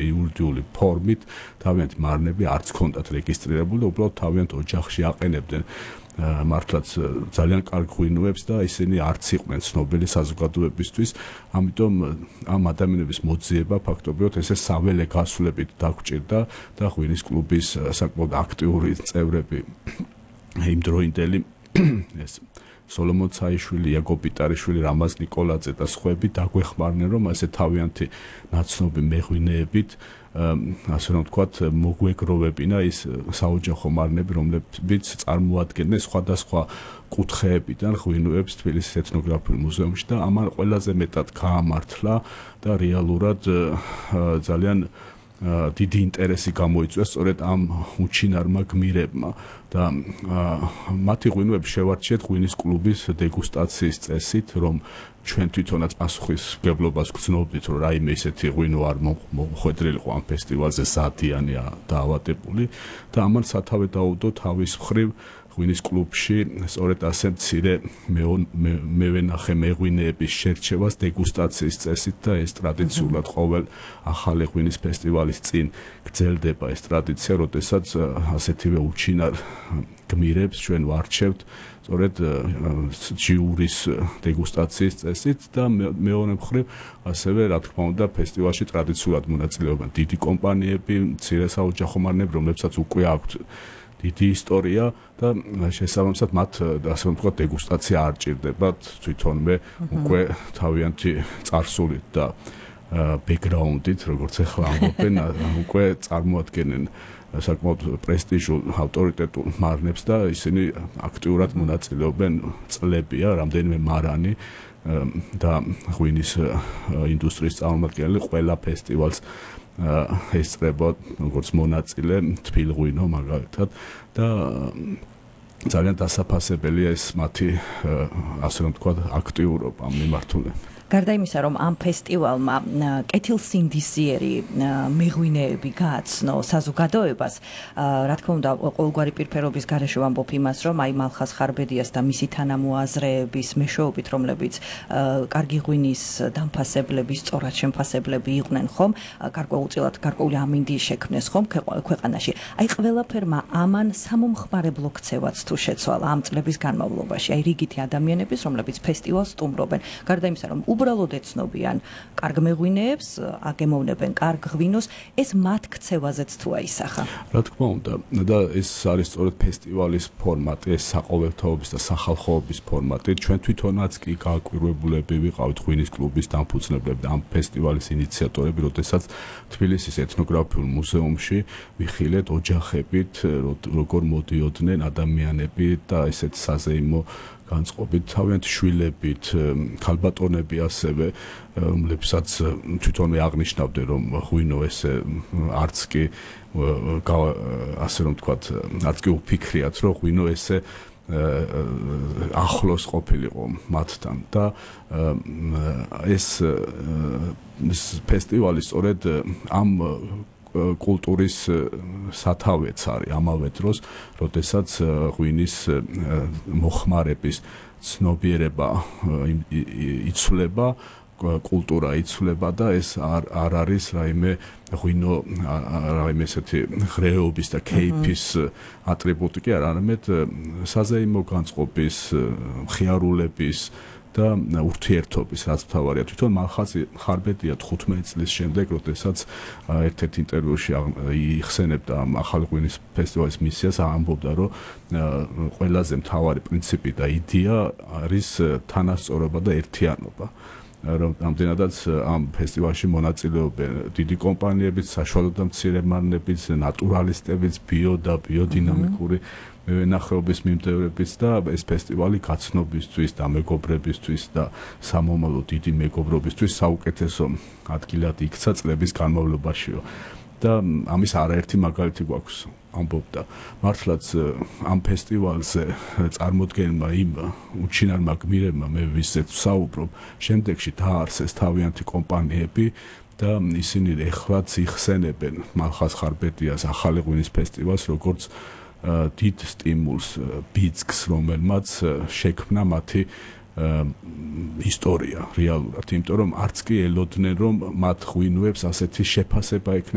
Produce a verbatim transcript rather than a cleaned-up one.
იურიდიული ფორმით თავიანთი მარნები არც ჰქონდათ რეგისტრირებული და უბრალოდ თავიანთ ოჯახში აყენებდნენ მართლაც ძალიან კარგ ღვინოებს და ისინი არც იყვნენ ცნობილი საზოგადოებისთვის, ამიტომ ამ ადამიანების მოძიება ფაქტობრივად ესე საველე გასვლებით დაგვჭირდა და ღვინის კლუბის საკმაოდ აქტიური წევრები იმდროინდელი ეს სოლომონ ცაიშვილი, იაკობ პიტარიშვილი, რამაზ ნიკოლაძე და სხვები დაგვეხმარნენ, რომ ასე თავიანთი ნაცნობი მეღვინეებით ასე რომ ვთქვათ, მოგვეგროვებინა ის საოჯახო მარნები, რომლებიც წარმოადგენდნენ სხვადასხვა კუთხეებიდან ღვინოებს თბილისის ეთნოგრაფიულ მუზეუმში და ამან ყველაზე მეტად გაამართლა და რეალურად ძალიან დიდი ინტერესი გამოიწვია სწორედ ამ უჩინარმა გმირებმა და მათი ღვინოები შევარჩიეთ ღვინის კლუბის დეგუსტაციის წესით, რომ ჩვენ თვითონაც პასუხისმგებლობას გრძნობდით, რომ რაიმე ისეთი ღვინო არ მოხვედრილიყო ამ ფესტივალზე ზადიანია დაავადებული და ამან სათავე დაუდო თავის მხრივ ღვინის კლუბში სწორედ ასე მცირე მევენახე მეღვინეების შერჩევას დეგუსტაციის წესით და ეს ტრადიციულად ყოველ ახალი ღვინის ფესტივალის წინ გრძელდება ეს ტრადიცია, როდესაც ასეთივე უჩინარ გმირებს ჩვენ ვარჩევთ სწორედ ჯიურის დეგუსტაციის წესით და მეორე მხრივ ასევე რა თქმა უნდა ფესტივალში ტრადიციულად მონაწილეობენ დიდი კომპანიები, მცირე საოჯახო მარნები, რომლებსაც უკვე აქვთ დიდი ისტორია და შესაბამისად მათ ასე ვთქვათ დეგუსტაცია არ ჭირდებათ თვითონვე უკვე თავიანთი წარსულით და ბექგრაუნდით, როგორც ახლა ამბობენ, უკვე წარმოადგენენ საკმაოდ პრესტიჟულ ავტორიტეტულ მარნებს და ისინი აქტიურად მონაწილეობენ წლებია, რამდენიმე მარანი და ღვინის ინდუსტრიის წარმომადგენელი ყველა ფესტივალს ესწრება როგორც მონაწილე თბილღვინო მაგალითად და ძალიან დასაფასებელია ეს მათი ასე რომ ვთქვათ აქტიურობა ამ მიმართულებით. გარდა იმისა, რომ ამ ფესტივალმა კეთილსინდისიერი მეღვინეები გააცნო საზოგადოებას, რა თქმა უნდა, ყოველგვარი პირფერობის გარეშე ვამბობ იმას, რომ აი მალხაზ ხარბედიას და მისი თანამოაზრეების მეშვეობით, რომლებიც კარგი ღვინის დამფასებლები, სწორად შემფასებლები იყვნენ ხომ, გარკვეულწილად გარკვეული ამინდი შექმნეს ხომ ქვეყანაში. აი ყველაფერმა ამან სამომხმარებლო ქცევაც თუ შეცვალა ამ წლების განმავლობაში, აი რიგითი ადამიანების, რომლებიც ფესტივალს სტუმრობენ. გარდა იმისა, რომ უბრალოდ ეცნობიან კარგ მეღვინეებს, აგემოვნებენ კარგ ღვინოს, ეს მათ ქცევაზეც თუ აისახა. რა თქმა უნდა, და ეს არის სწორედ ფესტივალის ფორმატი, ეს საყოველთაობის და სახალხოობის ფორმატი. ჩვენ თვითონაც კი გააკვირვებულები ვიყავით ღვინის კლუბის დამფუძნებლები და ამ ფესტივალის ინიციატორები, როდესაც თბილისის ეთნოგრაფიულ მუზეუმში ვიხილეთ ოჯახებით, როგორ მოდიოდნენ ადამიანები და ესეთ საზეიმო განწყობით თავიანთი შვილებით, ქალბატონები ასევე, რომლებსაც თვითონვე აღნიშნავდნენ, რომ ღვინო ესე არც კი ასე რომ ვთქვათ, არც კი უფიქრიათ, რომ ღვინო ესე ახლოს ყოფილიყო მათთან და ეს ფესტივალი სწორედ ამ კულტურის სათავეც არის ამავე დროს, როდესაც ღვინის მოხმარების ცნობიერება იცვლება, კულტურა იცვლება და ეს არ არ არის რაიმე ღვინო რაიმე ესეთი ღრეობის და кейფის ატრიბუტი კი არ, არამედ საზეიმო განწყობის, მხიარულების და ურთიერთობის, რაც მთავარია. თვითონ მალხაზი ხარბედია თხუთმეტი წლის შემდეგ, როდესაც ერთ-ერთ ინტერვიუში იხსენებდა ამ ახალი ღვინის ფესტივალის მისიას, ამბობდა, რომ ყველაზე მთავარი პრინციპი და იდეა არის თანასწორობა და ერთიანობა. რომ ამდენადაც ამ ფესტივალში მონაწილეობენ დიდი კომპანიებიც, საშუალო და მცირე მარნებიც, ნატურალისტებიც, ბიო და ბიოდინამიკური მევენახეობის მიმდევრებიც და ეს ფესტივალი გაცნობისთვის და მეგობრებისთვის და სამომავლო დიდი მეგობრობისთვის საუკეთესო ადგილად იქცა წლების განმავლობაშიო. და ამის არაერთი მაგალითი გვაქვს, ამბობდა. მართლაც ამ ფესტივალზე წარმოდგენმა იმ უჩინარმა გმირებმა, მე ვისაც ვსაუბრობ, შემდეგში დაარსეს თავიანთი კომპანიები და ისინი ეხლაც იხსენებენ მალხაზ ხარბედიას ახალი ღვინის ფესტივალს, როგორც დიდ სტიმულს, ბიძგს, რომელმაც შექმნა მათი ისტორია რეალურად, იმიტომ რომ არც კი ელოდნენ რომ მათ ღვინოებს ასეთი შეფასება ექნება